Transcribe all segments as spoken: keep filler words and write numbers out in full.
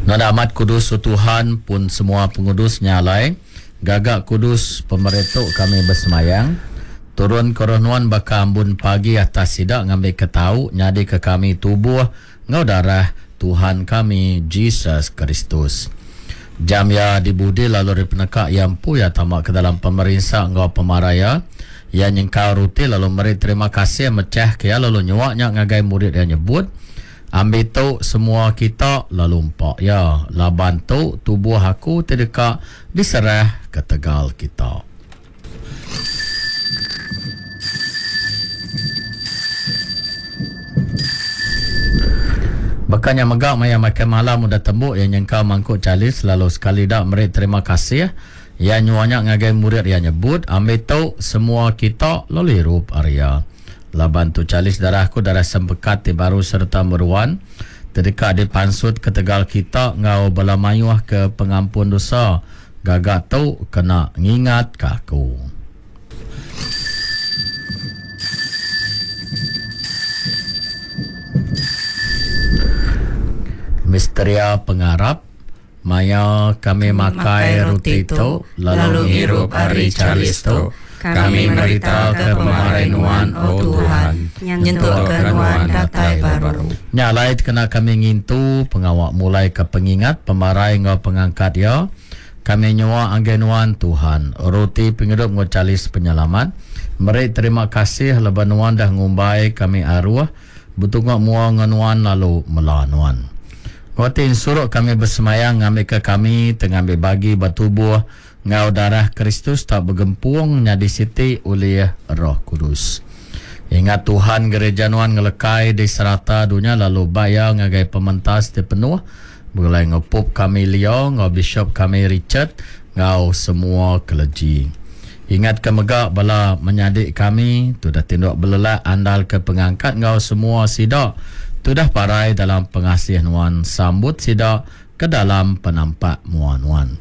Nuan amat kudus, O Tuhan, pun semua pengudus nya alai, gaga kudus pemeri tu kami besemayang. Turun ke roh nuan baka ambun pagi atas sida ngambika tau nyadika kami tubuh enggau darah Tuhan kami Jesus Kristus. Jam iya dibudi lalu ari peneka iya empu iya tama ke dalam pemerinsa enggau pemarai iya, iya nyengkau roti lalu meri terima kasih mechahka iya lalu nyua nya ngagai murid iya nyebut, Ambi tu semua kita lalu empa iya, laban tu tubuh aku ti deka diserah ketegal kita. Baka nya mega maya makai malam udah tembu iya nyengkau mangkuk chalice lalu sekali da meri terima kasih iya nyua nya ngagai murid iya nyebut, Ambi tu semua kita lalu irup ari iya, laban tu chalice darah aku, darah sempekat ti baru sereta meruan, ti deka dipansut ketegal kita enggau bala mayuh ke pengampun dosa. Gaga tu kena ngingatka aku. Misteria pengarap. Maya kami makai roti tu lalu ngirup ari chalice tu, kami meritaka pemarai Nuan, O Tuhan, nyentukka Nuan datai baru. Nya alai kena kami ngintu pengawa mulaika pengingat pemarai enggau pengangkat Iya, kami nyua ngagai Nuan, Tuhan, roti pengidup enggau chalice penyelamat, meri terima kasih laban Nuan dah ngumbai kami aruh betunga mua enggau Nuan lalu mela Nuan. Enggau ti ensuruk kami besemayang ngambika kami ti ngambi bagi ba tubuh enggau darah Kristus tau begempung nyadi siti ulih Roh Kudus. Ingat Tuhan gereja Nuan ngelekai di serata dunya lalu ba iya ngagai pementas ti penuh begulai enggau Pope kami Leo enggau Bishop kami Richard enggau semua clergy. Ingatka mega bala menyadi kami tudah tinduk belelak andalka pengangkat enggau semua sida tudah parai dalam pengasih Nuan, sambut sida ke dalam penampak mua Nuan.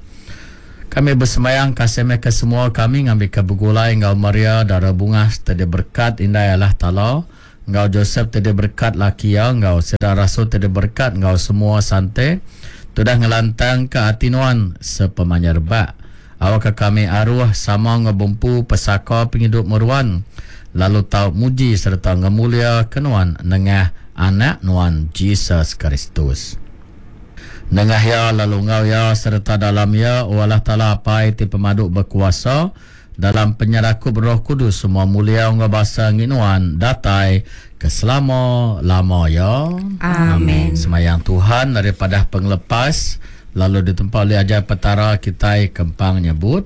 Kami besembayang kasih meh ke semua kami ngambika begulai enggau Maria Dara Bungas ti diberekat Indai Allah Taala, enggau Josep ti diberekat laki iya, enggau sida rasul ti diberekat enggau semua sante tudah ngelantangka ati Nuan sepemanjai rebak. Awakka kami aruh sama enggau bempu pesaka pengidup meruan, lalu tau muji sereta ngemuliaka Nuan nengah Anak Nuan Jesus Kristus. Nengah Iya lalu enggau Iya sereta dalam Iya, O Allah Taala Apai ti pemadu bekuasa, dalam penyerakup Roh Kudus semua mulia enggau basa enggi Nuan datai ke selama-lama iya. Amin. Semayang Tuhan ari padah pengelepas lalu ditempa oleh ajar Petara kitai kempang nyebut.